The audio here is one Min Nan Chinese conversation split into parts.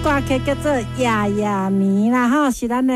歌曲叫做《夜夜暝》啦，吼，是咱的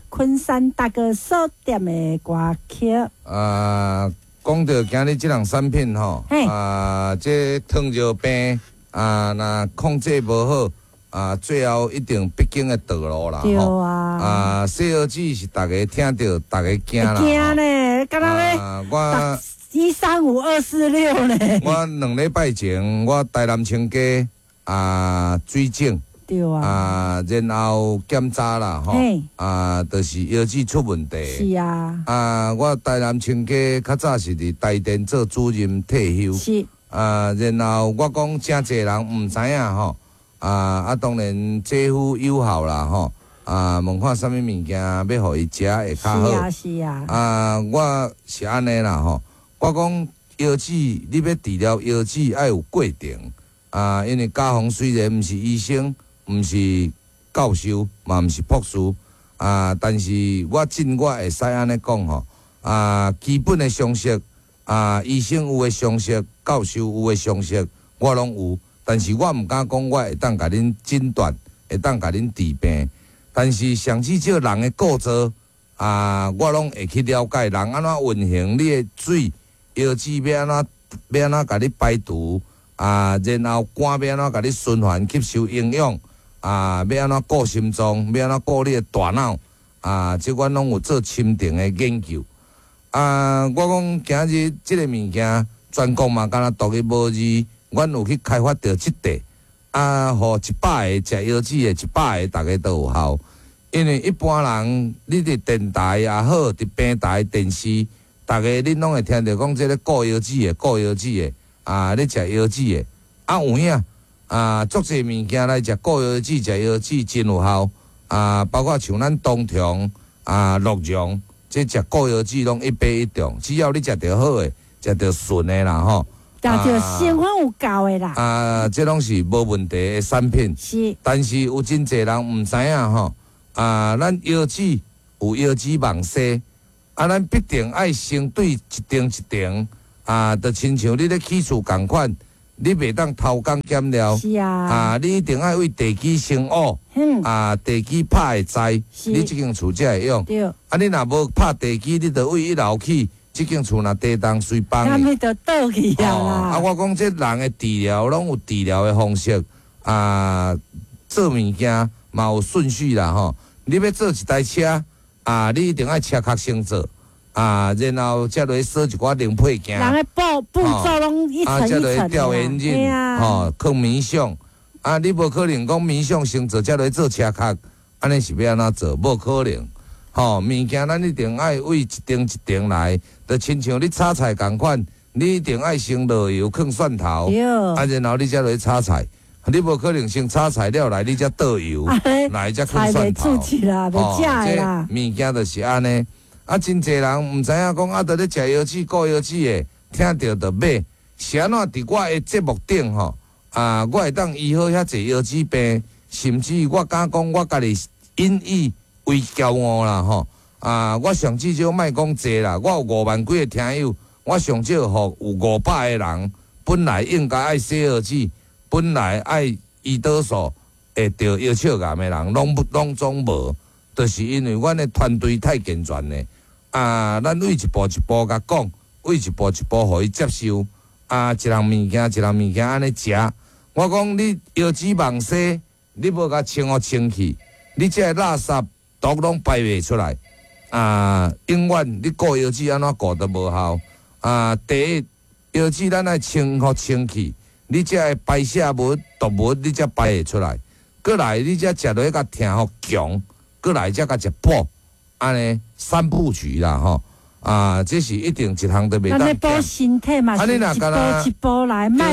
昆山大哥所點的歌曲。啊，講著今日這項產品吼，啊，這糖尿病啊，若控制無好，啊，最後一定必經的道路啦。對啊。啊，洗腰子是逐家聽著，逐家驚啦。驚呢，敢若欲我 1、3、5、2、4、6呢。我2禮拜前，我台南清街啊水腫。對啊。啊，然後檢查啦，吼，啊，就是腰子出問題。是啊。啊，我台南清街較早是佇台電做主任退休。啊，然後我講誠濟人毋知影吼，啊啊，當然這副有效啦吼，啊，問看啥物物件欲予伊食會較好。是啊，是啊。啊，我是按呢啦吼，我講腰子，你欲治療腰子愛有過程，啊，因為家宏雖然毋是醫生，毋是教授，嘛毋是博士，啊！但是我盡我會使按呢講吼，啊，基本的常識，啊，醫生有的常識，教授有的常識，我攏有。但是我毋敢講我會當共恁診斷，會當共恁治病。但是上至少人的構造，啊，我攏會去了解人按怎運行，你的水腰子欲按怎欲按怎共你排除，啊，然後肝欲按怎共你循環吸收營養。啊，欲按怎顧心臟，欲按怎顧你的大腦，啊，這阮攏有做深層的研究。啊，我講今日這个物件，全國嘛敢若獨一無二，阮有去開發著這塊，啊，予100个食腰子的，100个逐家都有效。因為一般人，你佇電台也好，佇平台、電視，逐家恁攏會聽著講這个顧腰子的、顧腰子的，啊，咧食腰子的，啊有影。啊，足濟物件來食顧腰子，食腰子真有效。啊，包括像咱東長啊、鹿茸，這食顧腰子攏一發一中。只要你食著好的，食著順的啦吼。食著成分有夠的啦。啊，這攏是無問題的產品。但是有真濟人毋知影吼。啊，咱腰子有腰子網紗，啊，咱必定愛先對一層一層。啊，就親像你咧起厝仝款。你袂當偷工減料，啊！你一定愛為地基先挖，啊，地基拍會知，你這間厝才會用。啊，你若無拍地基，你著為一樓起，這間厝若地動隨崩。那咪就倒去啊！啊，我講這人的治療攏有治療的方式，啊，做物件嘛有順序啦吼。你欲做一台車，啊，你一定愛車殼先做。啊，然後才來鎖一寡零配件。人的步驟攏一層一層。啊，才來吊引擎，吼，囥冥想。啊，你無可能講冥想先做，才來做車殼，按呢是欲按怎做？無可能。吼，物件咱一定愛為一層一層來，就親像你炒菜仝款，你一定愛先落油，囥蒜頭，啊，然後你才來炒菜。你無可能先炒菜了來，你才倒油，來才囥蒜頭。吼，這物件就是按呢。啊，真濟人毋知影講啊，佇咧食腰子、顧腰子的，聽著就買。是按怎佇我的節目頂吼，啊，我會當醫好遐濟腰子病，甚至我敢講，我家己引以為驕傲啦吼。啊，我上至少莫講濟啦，我有5萬幾个聽友，我上少予有500個人，本來應該愛洗腰子，本來愛胰島素會得腰鞘癌的人，攏總無，就是因為阮的團隊太健全咧。啊，咱為一步一步共講，為一步一步予伊接受。啊，一項物件一項物件按呢食。我講你腰子網紗，你無共清予清氣，你這个垃圾毒攏排袂出來。啊，永遠你顧腰子按怎顧都無效。啊，第一，腰子咱愛清予清氣，你這个排泄物、毒物，你才排會出來。閣來，你才食落去共疼予強，閣來才共食補。按呢三部曲啦吼，啊，這是一定一項都袂當。按呢補身體嘛，是一步一步來，莫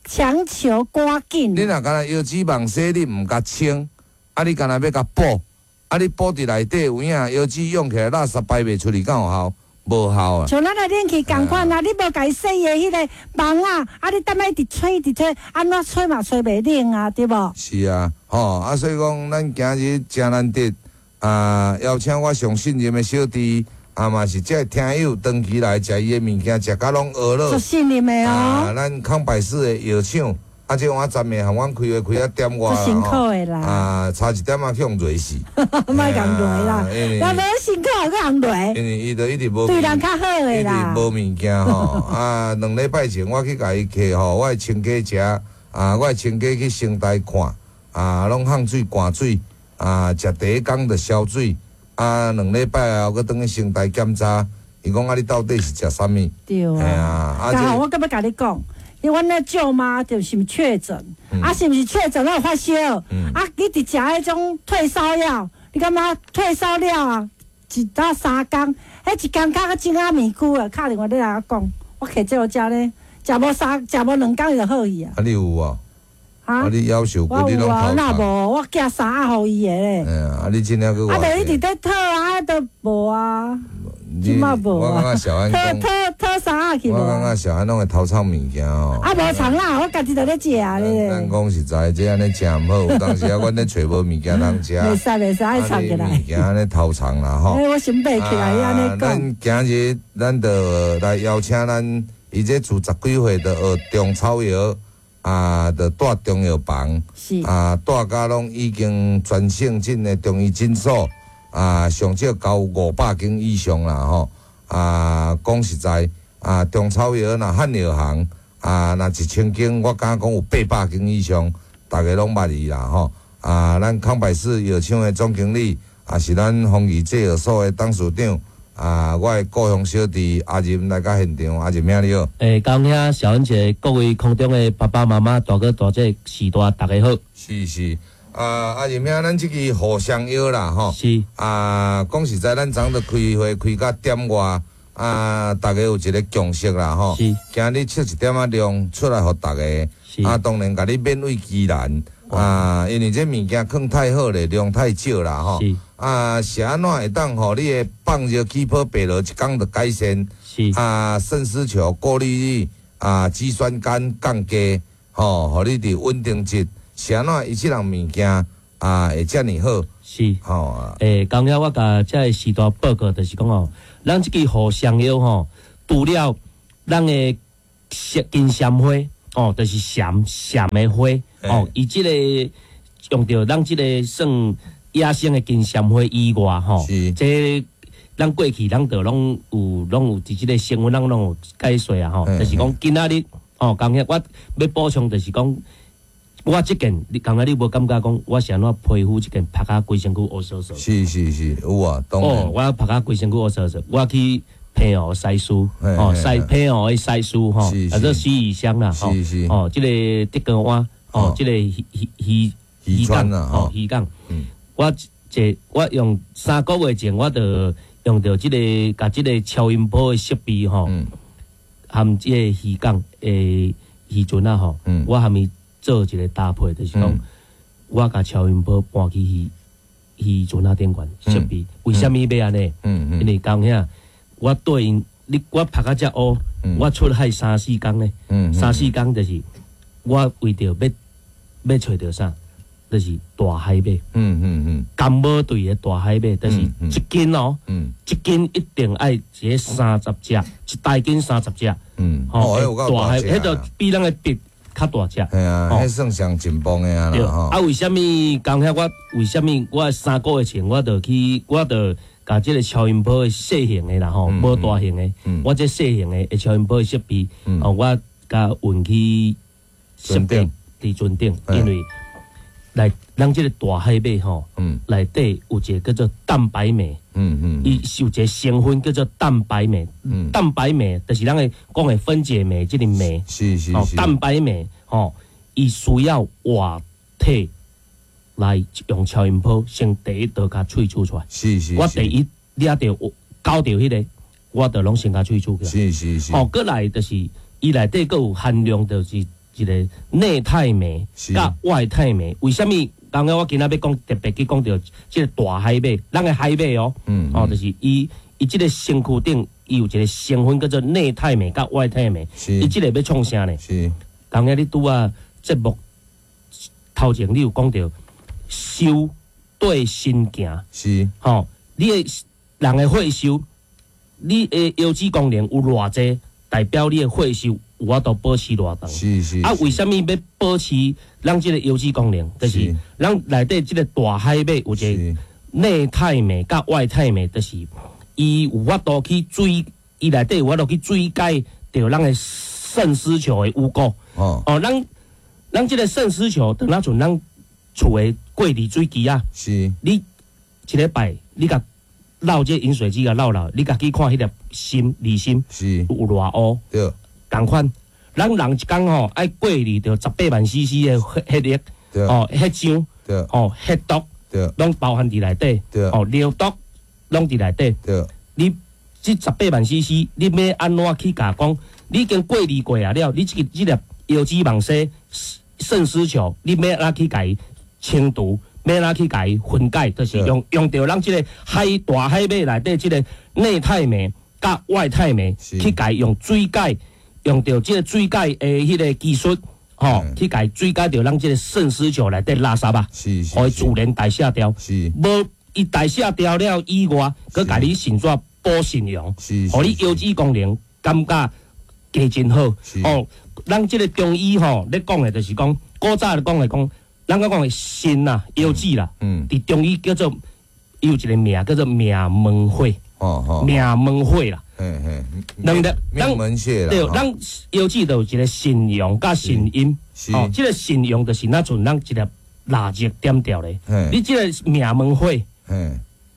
強求趕緊。你若干焦腰子網紗，你毋共清，啊，你干焦欲共補，啊，你補佇內底有影，腰子用起來垃圾排袂出去，敢有效？無效啊！像咱的冷氣仝款啊，你無共伊洗的彼个網仔，啊，你逐擺一直吹一直吹，按怎吹嘛吹袂冷啊，對無？是啊，吼啊，所以講咱今日誠難得。啊！邀請我上信任的小弟，啊嘛是這个聽友長期來食伊的物件，食甲攏學了。足信任的哦。啊，咱康百氏的藥廠啊，這碗昨暝含阮開會開啊點外足辛苦的啦。啊，差一點仔去予雷死。莫共雷啦，因若無辛苦閣通雷，為伊就一直無對人較好的一啦直。無物件吼。啊，2禮拜前我去共伊客吼，我的親家食，啊，我的親家去成大看，啊，攏放水灌水，啊，食第一工就消水，啊，2禮拜後閣轉去成大檢查，伊講啊，你到底是食啥物？對嘿啊。啊，啊剛好這我閣欲共你講，因為阮那舅媽就是確診，啊，是毋是確診？有發燒，啊，一直食彼種退燒藥，你感覺退燒了啊？一到3工，彼一工較種仔麵龜啊，敲電話來共我講，我揢這予食咧，食無三，食無2工就好去啊。啊，你有無？哈啊，你夭壽我骨你攏有啊，頭若痛。無我寄衫仔予伊的咧。哎呀，啊，你真正閣啊，偌就一直咧討啊，都無啊，你這擺無我感啊覺小安討講，討討衫仔去無我感啊覺小安攏會偷藏物件吼。啊，無藏啦，我家己就咧食咧。咱講實在，這按呢誠毋好，有當時啊，阮咧揣無物件通食，袂使袂使，愛藏起來。物件按呢偷藏啦吼。哎，我想袂起來，按呢講。咱今日咱就來邀請咱，伊這自十幾歲就學中草藥，啊，就蹛中藥房，啊，蹛甲攏已經全省鎮的中醫診所，啊，上少交500間以上啦吼。啊，講實在，啊，中草藥若漢藥行，啊，若1000間，我敢講有800間以上，逐家攏捌伊啦吼。啊，咱康百氏藥廠的總經理，也是咱豐儀製藥所的董事長，啊，我的故鄉小弟阿仁來到現場，阿仁兄你好。欸，江兄、小恩姐，各位空中的爸爸媽媽、大哥大姐、時大，大家好。是是，啊，阿仁兄，咱這支互相藥啦吼。啊，講實在，咱昨昏開會開到點外，啊，逐家有一個共識啦吼。今日測一點仔量出來予逐家。啊，當然共你勉為其難。啊，因為這物件囥太好咧，量太少啦吼。啊，是按怎會當予你的放熱氣泡白落一工就改善？啊，腎絲球過濾率啊，肌酸酐降低，吼，予你佇穩定質，是按怎伊這項物件啊會遮爾好？吼。欸，剛才我共這个時代報告，就是講吼，咱這支互相藥吼，除了咱的金蟬花，哦，就是蟬蟬的花，哦，伊這个用著咱這个算野生的金蟬花以外，吼，這咱過去咱就攏有攏有佇這个新聞，咱攏有解說啊，吼，就是講今仔日，哦，剛才我欲補充，就是講我這件，你剛才你無感覺講我是按怎皮膚這件曝甲規身軀烏趖趖？是是是，有啊，當然。哦，我曝甲規身軀烏趖趖，我去澎湖西施，哦，西澎湖的西施吼，啊，做死魚鄉啦，吼，哦，這個竹篙灣，哦，這個漁漁漁港，哦，漁港，我這我用3個月前，我就用著這個共這個超音波的設備吼，含這個漁港的漁船仔吼，我含伊做一個搭配，就是講我共超音波搬去漁漁船仔頂懸設備，為啥物欲按呢？因為講遐，我對𪜶，你我曝甲遮烏，我出海三四工呢，三四工就是我為著欲欲揣著啥，就是大海馬。甘寶隊的大海馬，就是一斤哦，一斤一定愛一个三十隻，一大斤三十隻。吼，大海，彼就比咱的筆較大隻。係啊，彼算上進步的啊啦吼。啊，為啥物剛才我為啥物我3個月前我就去，我就共這个超音波的細型的啦吼，無大型的，我這細型的超音波的設備，哦，我共運去設備佇船頂，因為來咱這个大海馬吼，內底有一个叫做蛋白酶，伊是有一个成分叫做蛋白酶，蛋白酶就是咱的講的分解酶這个酶，蛋白酶吼，伊需要活體來用超音波先第一道共萃取出來。我第一掠著搞著彼个，我就攏先共萃取起來。哦，閣來就是伊內底閣有含量，就是一個內肽酶佮外肽酶。為啥物？剛剛我今仔欲講特別去講著這个大海馬，咱的海馬哦，哦，就是伊伊這个身軀頂伊有一個成分叫做內肽酶佮外肽酶。伊這个欲創啥呢？剛剛你拄仔節目頭前你有講著收對身行，吼，你的人的血收，你的腰子功能有偌濟，代表你的血收有法度保持偌長。啊，為啥物欲保持咱這个腰子功能？就是咱內底這个大海馬有一个內肽酶佮外肽酶，就是伊有法度去水，伊內底有法度去水解著咱的腎絲球的污垢。哦，咱這个腎絲球，就若像咱厝的過濾水機啊。你一禮拜你共漏這飲水機共漏漏，你家己看彼粒鋅濾鋅有偌烏。仝款，咱人一工吼愛過濾著18萬 CC 的血液，哦，血漿，哦，血毒，攏包含佇內底，哦，尿毒攏佇內底。你這十八萬 CC，你欲按怎去共講？你已經過濾過啊了，你這个這粒腰子網紗腎絲球，你欲按怎去共伊清除？欲按怎去共伊分解？就是用著咱這个大海馬內底這个內肽酶佮外肽酶去共伊用水解。用著這个水解的彼个技術，吼，去共水解著咱這个腎絲球內底垃圾啊，予伊自然代謝掉。無伊代謝掉了以外，閣共你腎紙補腎陽，予你腰子功能感覺加真好。哦，咱這个中醫吼咧講的就是講，古早咧講的講，咱講的腎啊，腰子啦，佇中醫叫做伊有一个名叫做命門火。命門火啦。兩粒，命門穴啦。對，咱腰子就有一个腎陽佮腎陰。哦，這个腎陽就是若像咱一粒蠟燭點著咧。你這个命門火，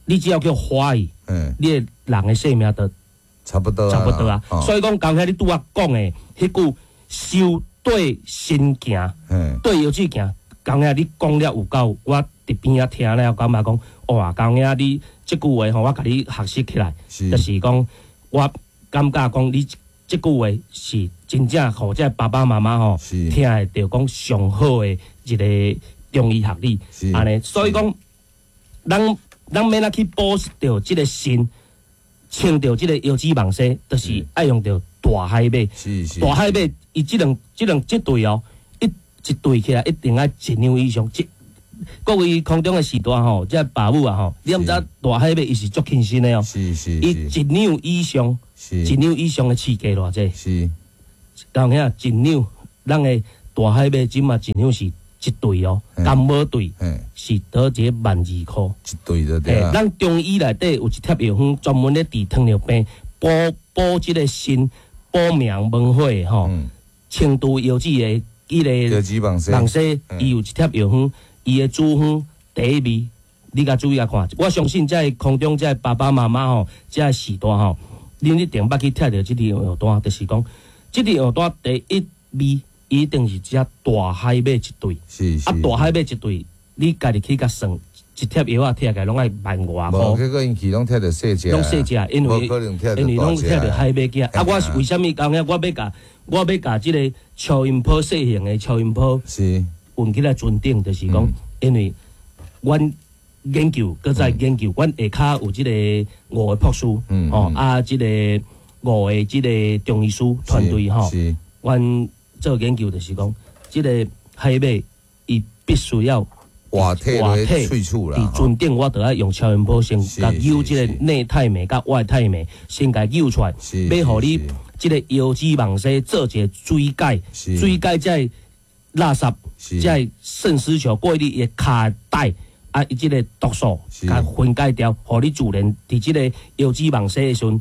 你只要叫火去，你的人的生命就差不多，差不多啊。所以講，剛才你拄仔講的彼句修對身行，對腰子行，剛才你講了有夠，我佇邊仔聽了，感覺講，哇，剛才你這句話吼，我共你學習起來，就是講。我感覺講你這句話是真正予這爸爸媽媽吼聽會著講上好的一个中醫學理，按呢，所以講，咱欲按怎去補著這个腎，清著這个腰子網紗，就是愛用著大海馬。大海馬伊這兩這兩這對哦，一對起來一定愛一兩以上。各位空中的時代吼，這爸母啊吼，你毋知大海馬伊是足輕身的哦，伊一兩以上，一兩以上的市價偌濟？當遐一兩，咱的大海馬這馬一兩是一對哦，感冒對，是倒一个12,000箍。一對就對。咱中醫內底有一帖藥方，專門咧治糖尿病，補補這个腎，補命門火吼，清除腰子的彼个網紗，伊有一帖藥方。伊的主方第一味，你共注意共看。我相信這空中這爸爸媽媽吼，這時代吼，恁一定捌去拆著這支藥單，就是講，這支藥單第一味，一定是這大海馬一對。啊，大海馬一對，你家己去共算，一帖藥仔拆起來攏愛萬外箍。無，結果𪜶去攏拆著細隻。攏細隻，因為攏拆著海馬仔。啊，我是為啥物講遐？我欲共這个超音波細型的超音波。運起來船頂，就是講，因為阮研究，閣再研究，阮下跤有這个五个博士，吼啊，這个五个這个中醫師團隊吼，阮做研究就是講，這个海馬伊必須要活體佇喙齒啦，佇船頂我著愛用超音波先共揪這个內肽酶佮外肽酶，先共揪出來，欲予你這个腰子網紗做一个水解，水解這个垃圾，這个腎絲球過濾的跤帶啊，伊這个毒素共分解掉，予你自然佇這个腰子網紗的時陣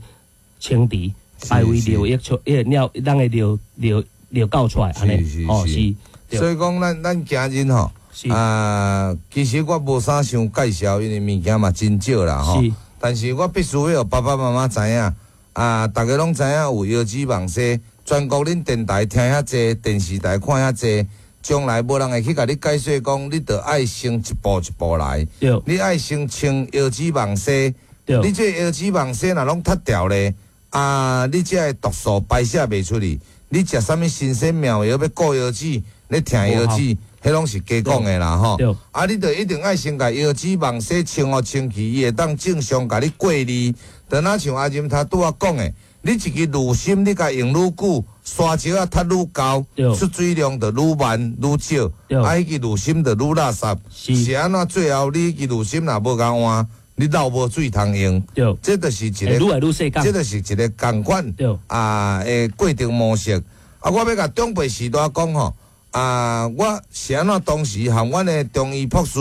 清除，排為尿液出，彼个尿，咱的尿尿尿倒出來，按呢，哦是。所以講，咱今日吼，啊，其實我無啥想介紹，因為物件嘛真少啦吼。但是我必須欲予爸爸媽媽知影，啊，逐家攏知影有腰子網紗，全國恁電台聽遐濟，電視台看遐濟。將來無人會去共你解說講，你著愛先一步一步來。你愛先清腰子網紗，你這腰子網紗若攏脫掉咧，啊，你這个毒素排泄袂出去，你食啥物神仙妙藥欲顧腰子，咧疼腰子，彼攏是假講的啦吼。啊，你著一定愛先共腰子網紗清予清氣，伊會當正常共你過濾。就若像阿任頭拄仔講的，你一支濾芯，你共用愈久，沙石仔踢愈厚，出水量就愈慢愈少，啊，彼支濾芯就愈垃圾。是按怎最後你彼支濾芯若無共換，你流無水通用。這就是一个，愈來愈細這就是一个仝款啊的過程模式。啊，我欲共長輩序大講吼，啊，我是按怎當時和阮的中醫博士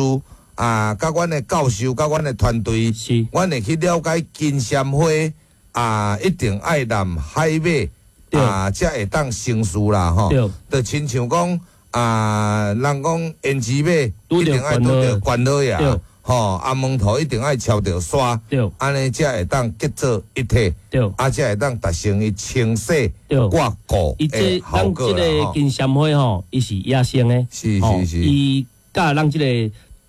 啊，佮阮的教授，佮阮的團隊，阮會去了解金萱花啊，一定愛淋海馬啊，才會當成事啦吼。就親像講啊，人講胭脂馬一定愛拄著關老爺。吼，阿門頭一定愛撨著沙，按呢才會當結做一體，啊，才會當達成伊清洗掛固的效果啦。咱這個金萱花吼，伊是野生的，是是是，伊佮咱這個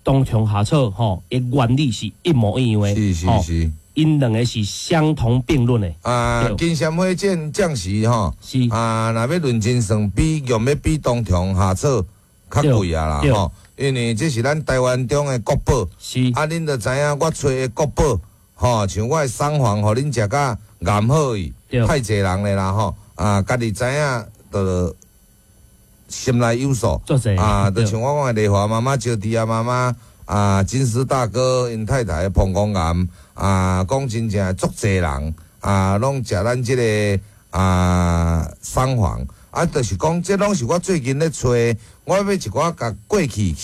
冬蟲夏草吼，伊原理是一模一樣的，是是是，𪜶兩个是相同並論的。啊，金萱花這暫時吼，是啊，若欲論真算比用欲比冬蟲夏草較貴啊啦吼。因為這是咱台灣中的國寶，是啊，恁就知影我揣的國寶，吼，像我的桑黃，予恁食甲癌好去，太濟人咧啦吼，啊，家己知影就心內有數，啊，就像我講的麗華媽媽、招娣啊媽媽，啊，金絲大哥𪜶太太膀胱癌，啊，講真正足濟人，啊，攏食咱這个啊桑黃。啊，就是講，這攏是我最近咧揣，我欲一寡共過去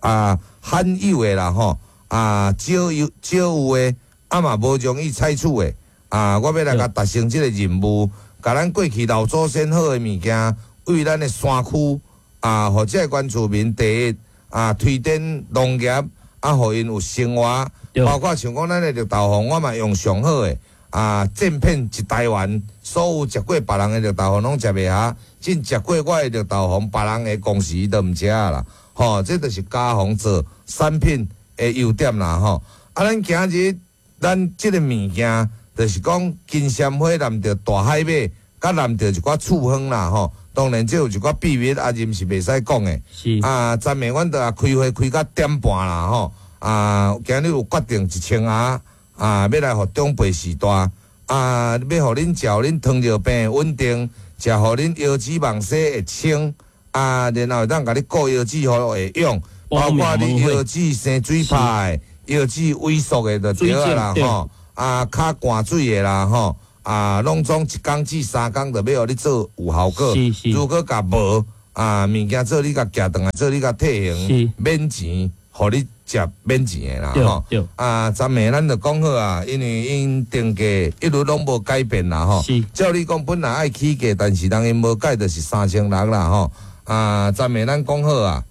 啊罕有的啦吼，啊少有少有的，啊嘛無容易採取的，啊，我欲來共達成這个任務，共咱過去老祖先好的物件，為咱的山區啊，予這个原住民第一啊推展農業，啊，予𪜶有生活，包括像講咱的綠豆黃，我嘛用上好的。啊！正騙一台灣，所有食過別人的綠豆黃攏食袂下，真食過我的綠豆黃，別人的公司都毋食啦。吼，這就是加紅做產品的優點啦。吼，啊，咱今日咱這个物件，就是講金萱花淋著大海馬，佮淋著一寡處方啦。吼，當然這有一寡秘密，啊，任是袂使講的。是啊，昨暝阮就啊開會開到點半啦。吼，啊，今日有決定1000盒。啊，欲來予長輩序大，啊，欲予恁食，予恁糖尿病穩定，食予恁腰子網洗會清，啊，然後會當共你顧腰子，予會用，包括你腰子生水泡的，腰子萎縮的就對啦吼，啊，跤灌水的啦吼，啊，攏總一工至三工就欲予你做有效果。如果共無啊，物件做你共寄轉來，做你共退還，免錢，予你食免錢的啦吼，啊，昨暝咱就講好啊，因為𪜶定價一路攏無改變啦吼。照理講本來愛起價，但是人𪜶無改，就是3600啦吼。啊，昨暝咱講好啊，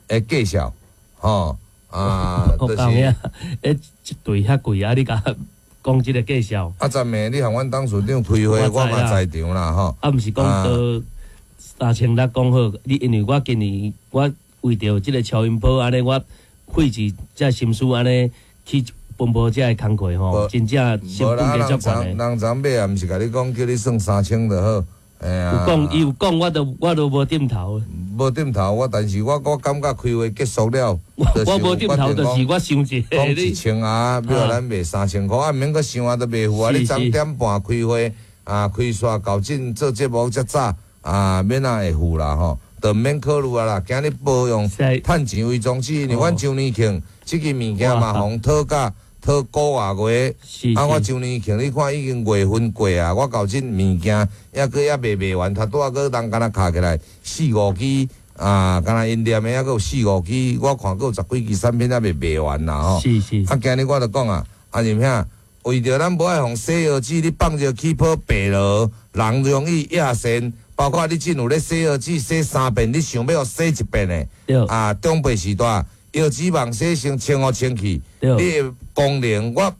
會介紹吼啊，就是。欸，一對遐貴啊，你共講這个介紹。啊，昨暝你和阮董事長開會，我嘛在場啦吼。啊，毋是講到3600講好，你因為我今年我為著這个超音波按呢，我。費一這心思按呢去奔波這个工課吼，真正成本價足懸的。人昨尾也毋是共你講，叫你算3000就好。哎呀，有講伊有講，我都無點頭。無點頭，我但是我感覺開會結束了，我無點頭，就是我想一講1000啊，欲予咱賣3000箍，啊，毋免閣想啊，都袂付啊。你昨點半開會啊，開煞到這做節目遮早啊，免哪會付啦吼。就毋免考慮啊啦，今日無用趁錢為宗旨，因為阮周年慶這个物件嘛，予討價討九外月，啊，我周年慶你看已經月份過啊，我到這物件猶閣猶未賣完，頭拄仔閣人敢若敲起來四五支啊，敢若𪜶念的猶閣有四五支，我看閣有十幾支產品猶未賣完啦吼。啊，今日我就講啊，阿仁兄，為著咱無愛予洗腰子，你放熱氣泡白落，人容易壓線。包括你進有咧洗腰子洗三遍，你想欲予洗一遍的，啊，長輩時代腰子網洗先清予清氣，你的功能我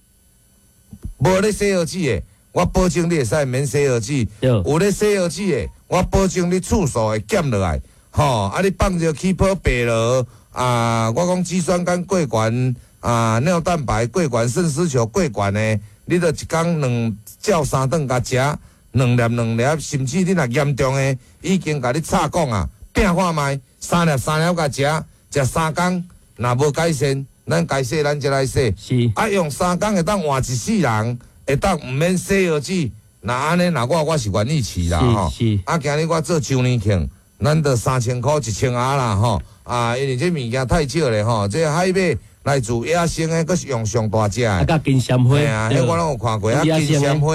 無咧洗腰子的，我保證你會使免洗腰子；有咧洗腰子的，我保證你次數會減落來。吼，啊，你放熱氣泡白落，啊，我講肌酸酐過懸，啊，尿蛋白過懸，腎絲球過懸的，你著一工兩照三頓共食。兩粒兩粒，甚至你若嚴重的，已經共你插講啊，拼看覓，三粒三粒共食，食三工，若無改善，咱該洗咱才來洗。是。啊，用三工會當換一世人，會當毋免洗腰子。若按呢，若我是願意試啦吼。是。啊，今日我做周年慶，咱就3000箍1000盒啦吼。啊，因為這物件太少咧吼，這海馬來自野生的，閣是用上大隻的。啊，佮金萱花。嘿啊，彼我攏有看過啊，金萱花。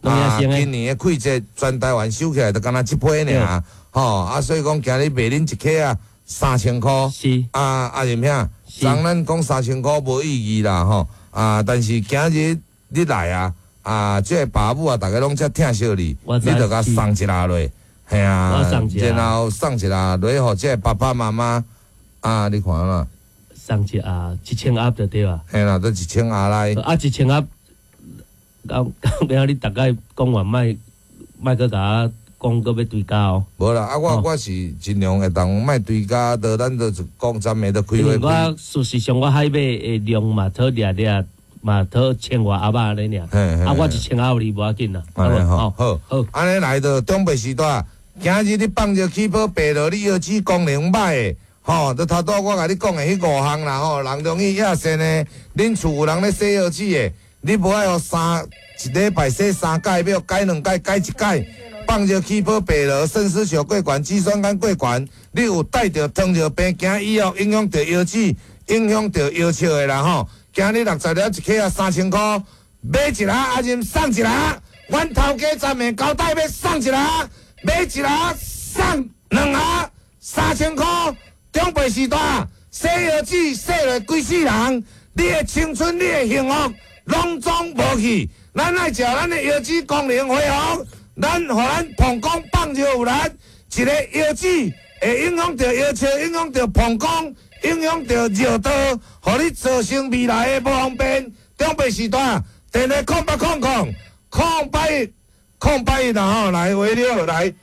啊，今年的季節全台灣收起來，就敢若這批爾，吼啊，所以講今日賣恁一克啊3000箍。是。啊，阿任兄，昨咱講3000箍無意義啦，吼啊，但是今日你來啊，啊，這个爸母啊，逐家攏遮疼惜你，你就共送一下落，嘿啊，然後送一下落，予這个爸爸媽媽啊，你看啦，送一盒1000盒就對啊，嘿啦，都1000盒來，啊，1000盒，講講你逐概講完，莫莫閣共我講，閣欲追加哦。無啦，啊，我是盡量會當莫追加，就咱就講昨暝都開會。我事實上我海馬的量嘛，討掠掠嘛，討千外盒仔按呢爾，啊，我1000盒予你無要緊啦。好，好，好，按呢來就長輩時代，今日你放尿起泡白落，你腰子功能歹的，吼，就頭拄我共你講的彼五項啦，吼，人容易壓線的，恁厝有人咧洗腰子的，你無愛予三一禮拜洗三擺，欲改兩擺，改一擺。放尿起泡白落，腎絲球過懸，肌酸酐過懸，你有帶著糖尿病、驚醫藥影響著腰子，影響著腰笑的啦吼。今日60粒一克啊，3000箍，買一盒阿任送一盒，阮頭家昨暝交代欲送一盒，買一盒送兩盒，3000箍。長輩時代，洗腰子洗落規世人，你的青春、你的幸福，攏總無去。咱愛食咱的腰子功能恢復，咱予咱膀胱放尿有力，一個腰子會影響著腰笑，影響著膀胱。影響著尿道，予你造成未來的無方便。長輩時代，電話0800 081 081啦吼，來喂你好，來，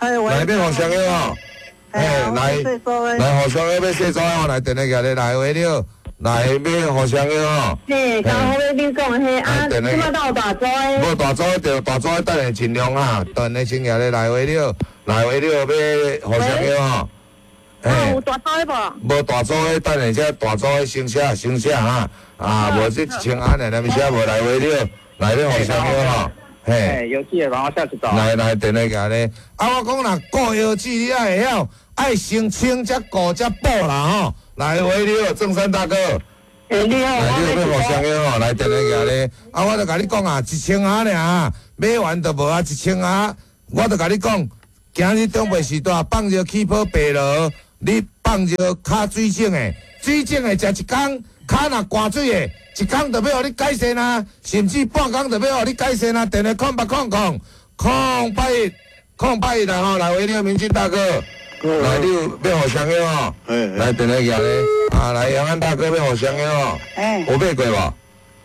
來欲互相約吼，嘿，來，來互相約欲洗澡吼，來電話寄來，來喂你好，來欲互相約吼。嘿，剛好你講的彼啊，這馬到大組的。無大組的，大組的等下盡量哈，等下先寄來，來喂你好，來喂你好，欲互相約吼。有大組的無？無大組的，等下這大組的先寫先寫哈，啊，無這1000盒爾，你寫無來話了，來欲互相約吼，嘿。腰子的幫我寫一組。來來，電話寄咧。啊，我講啦，顧腰子你愛會曉，愛先清才顧才補啦吼。來喂你好，鄭山大哥。欸，你好，來你有欲互相約吼，來電話寄咧。啊，我就共你講啊，1000盒爾，買完就無啊，1000盒，我就共你講，今日長輩時代放尿起泡白落。你放尿跤水腫的，水腫的食一工，跤若寒水的，一工就欲予你改善啊，甚至半工就欲予你改善啊。電話0800 081 081啦吼，來喂，你好，明進大哥，來你有欲互相約吼，來電話寄咧，啊來楊安大哥欲互相約吼，有買過無？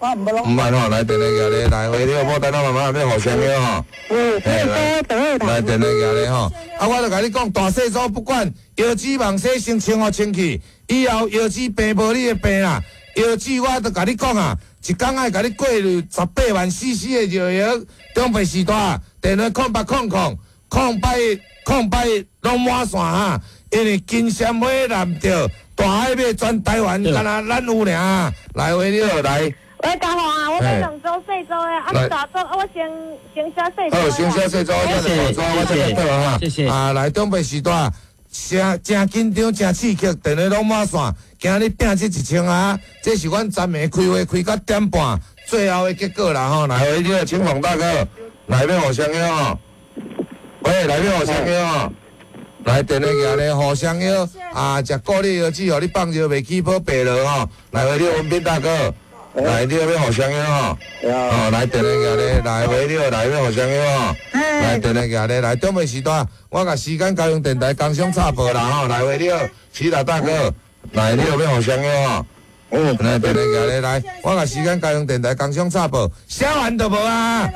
我毋捌。毋捌吼，來電話寄咧，來喂，你好，牡丹媽媽欲互相約吼。來電話寄咧吼，啊，我就共你講，大細組不管，腰子網洗先清予清氣，以後腰子病無你的病啦。腰子我就共你講啊，一工愛共你過濾18萬 CC 的尿液，長輩時代，電話0800 081 081攏滿線哈，因為金鮮花南著大海馬全台灣，敢若咱有爾，來喂你好來。喂，嘉宏啊，我欲兩組細組的，啊，大組啊，我先先寫細組。好，先寫細組，我再大組，我再倒哈。謝謝。啊，來長輩時代，誠誠緊張，誠刺激，電話攏滿線。今日拼這1000盒，這是阮昨暝開會開到點半，最後的結果啦吼。來，喂，你好，清風大哥，來欲互相約吼。喂，來欲互相約吼。來電話寄咧，互相約啊，食固力藥劑，予你放尿袂起泡白落吼。來，喂，你好，文斌大哥。來，你欲互相約吼，哦，來電話寄咧，來喂，你好，來欲互相約吼，來電話寄咧，來長輩時代，我共時間交用電台工商插播啦吼，來喂，你好，徐老大哥，來你欲互相約吼，來電話寄咧，來，我共時間交用電台工商插播，寫完就無啊。